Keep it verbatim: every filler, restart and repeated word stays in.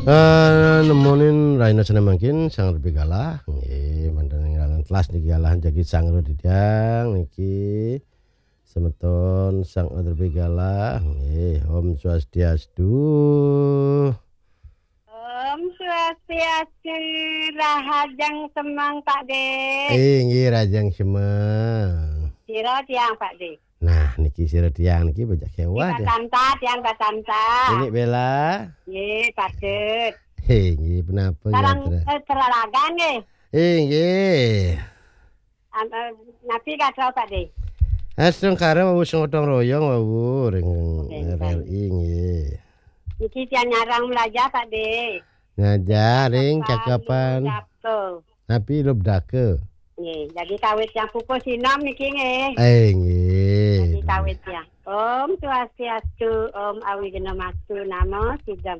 Eh, nemonin rahina sané mangkin Sang Rebé Galah. Nggih, manten ing ralan telas niki galah jagi Sang Ro Didang niki. Semeton Sang Rebé Galah. Nggih, Om Swastiastu. Om Swastiastu, rahajeng semeng, Pak De. Eh, nggih, rahajeng semeng. Sira tiang, Pak De. Nah, niki sira tiang niki bajak Niki sewah Pak deh. Santa, tiang Pak Santa. Ini Bella. Nggih, patut. Hé, nggih, punapa Sarang, gatra? Eh, peralagan nggih. Eh, nggih. Am-, eh, napi gatra, Pak De? Astungkara wau sing gotong royong wau ring Oke, R R I nggih. Niki tiang nyarang belajar, Pak De. Ngajar ring Cakepan, cakapan. Lubdaka. Napi Lubdaka? Nggih, jadi kawit yang pukul sinom niki nggih. Eh, nggih. Jadi kawit ya. Om Swastiastu, Om Awighnamastu, Namo Siddham.